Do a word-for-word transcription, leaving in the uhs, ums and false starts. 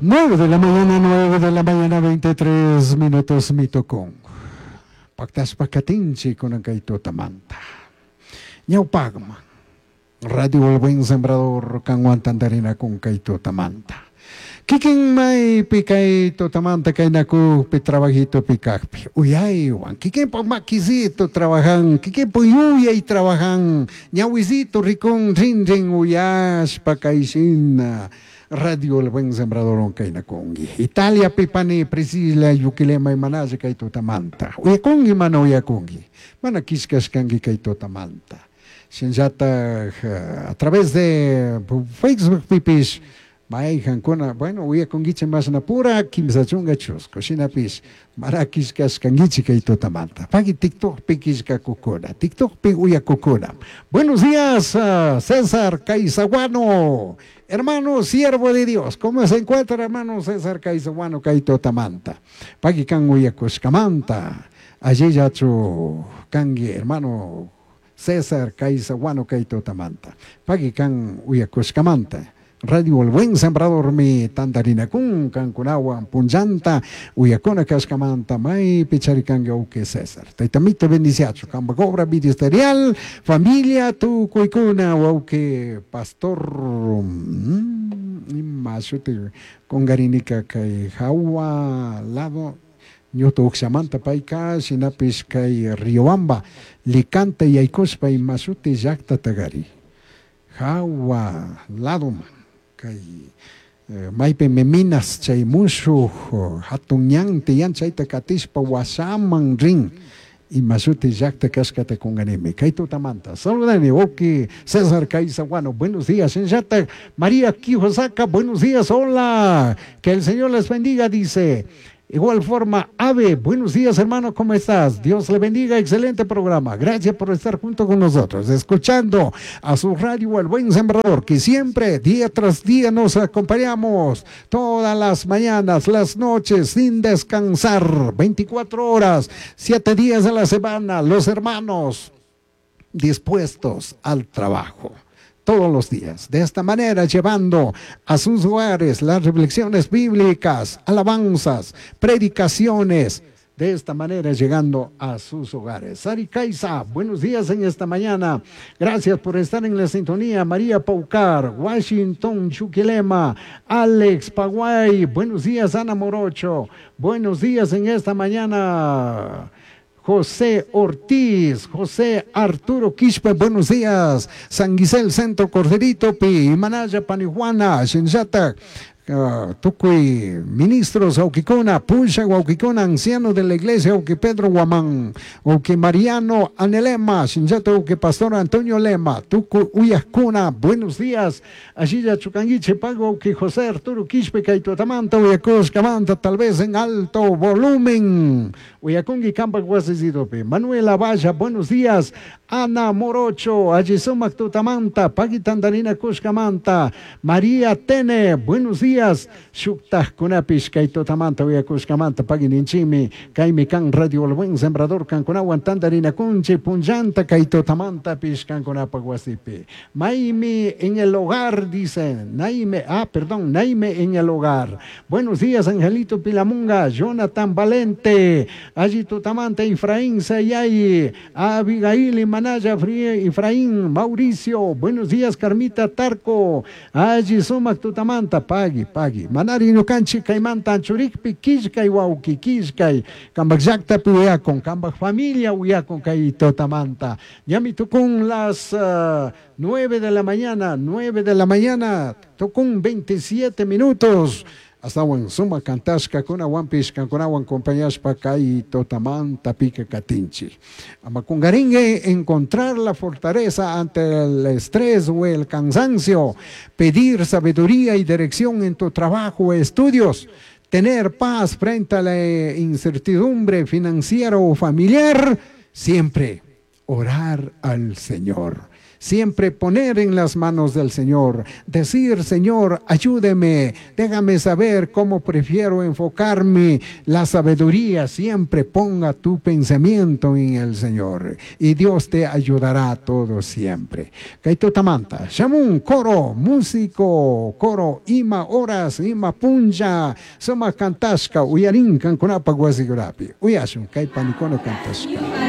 Nueve de la mañana, nueve de la mañana, veintitrés minutos mitokon. Pactaspa katinchi kunan kay tutamanta. Ñawpaqman. Radio El Buen Sembrador kanwan tantarinakun kay tutamanta. Kikin maypi kay tutamanta kaynakukpi trabajitopi kaqpi uyaywan kikinpa makisito trabajan, kikinpa yuyay trabajan, ñawisito rikun rin rin uyashpa kayshina Radio El Buen Sembrador kaynakunki. Italia pipani Priscila Yuquilema imanalla kay tutamanta. Uyakunki mana uyakunki. Mana kishkashkanki kay tutamanta. Shinllataj a través de Facebook pipish mayjankuna, bueno, uyakunkichik mashnapura kimsa chunka chusku shinapish mana kishkashkankichik kay tutamanta. Pagui TikTokpi kishkakukuna, TikTokpi uyakukuna. Buenos días, uh, César Caizaguano, hermano siervo de Dios. ¿Cómo se encuentra, hermano César Caizaguano kay tutamanta? Pagui kan uyakushkamanta. Allí yachu kangi, hermano César Caizaguano kay tutamanta. Pagui kan uyakushkamanta. Radio El Buen Sembrador mi tantarinakun kankunawan punllanta uyakuna kashkamanta maypi charikanki wawki César. Taytamito bendiciachu kamba obra ministerial familia tukuykuna wawki pastor mm, ima shuti kungarinika kay hawa lado ñutu ukshamanta payka shinapish kay Riobamba Licanta yaykushpa ima shuti llaqtatagari hawa ladoman kay eh, maypi minas chay mushuq hatun ñan tiyan chayta katishpa wasaman rin ima shuti llaqta kashkata kunganimi kay tutamanta saludani wawki César Caizaguano, buenos días. Shinllataj María Quijosaka, buenos días, hola, que el Señor les bendiga, dice. Igual forma, Ave, buenos días hermano, ¿cómo estás? Dios le bendiga, excelente programa. Gracias por estar junto con nosotros, escuchando a su radio El Buen Sembrador, que siempre, día tras día, nos acompañamos todas las mañanas, las noches, sin descansar, veinticuatro horas, siete días a la semana, los hermanos dispuestos al trabajo. Todos los días. De esta manera, llevando a sus hogares las reflexiones bíblicas, alabanzas, predicaciones. De esta manera, llegando a sus hogares. Sari Caiza, buenos días en esta mañana. Gracias por estar en la sintonía. María Paucar, Washington Chuquilema, Alex Paguay, buenos días, Ana Morocho. Buenos días en esta mañana. José Ortiz, José Arturo Quispe, buenos días. San Guisel, Centro Corderito, Pi, Manaya, Panijuana, Shinjata, uh, tukuy, ministros, Auquicona, Pucha, Auquicona, anciano de la iglesia, Auqui Pedro Guamán, Auqui Mariano Anelema, Shinjata, Auqui Pastor Antonio Lema, Tucu Uyascuna, buenos días. Allí ya Chucanguiche, Pago, Auqui José Arturo Quispe, Kaituatamanta, Uyacos, Camanta, tal vez en alto volumen. Uyacungui, Campa, Guasisidope. Manuela Valla, buenos días. Ana Morocho, Allí Sumac Tutamanta, Paguitandarina Cuscamanta, María Tene, buenos días. Shuktaj Kunapish, Kaitutamanta, Uyacuscamanta, Paguininchimi, Kaimi Kan, Radio El Buen Sembrador, Cancunawan, Tandarina Kunchi, Punllanta, Kaitutamanta, Pish, Cancunapa, Guasipi. Maimi en el hogar, dice, Naime, ah, perdón, Naime en el hogar. Buenos días, Angelito Pilamunga, Jonathan Valente, allí Tutamanta, Efraín Sayay, Abigail y Manaya, Efraín, Mauricio, buenos días, Carmita Tarco, allí Sumac Tutamanta, Pagui, Pagui, Manari Nukanchi, Caimanta, Churikpi, Kishkay, Wauki, Kishkay, Kambak llaqta uyakon, Kambak familia uyakon, kay Tutamanta. Ñami tukun las uh, nueve de la mañana, nueve de la mañana, tukun veintisiete minutos. Hasta suma kantashka kunawanpish kankunawan compañashpa kay totamanta pica katinchi. Amakungaringue, encontrar la fortaleza ante el estrés o el cansancio, pedir sabiduría y dirección en tu trabajo o estudios, tener paz frente a la incertidumbre financiera o familiar, siempre orar al Señor. Siempre poner en las manos del Señor. Decir, Señor, ayúdeme, déjame saber cómo prefiero enfocarme. La sabiduría, siempre ponga tu pensamiento en el Señor. Y Dios te ayudará todo siempre. Kay tutamanta, shamun, coro, músico, coro, ima horas, ima punlla, suma kantashka, uyarin kankunapaj wasikunapi. Uyashun, kay panikuna kantashka.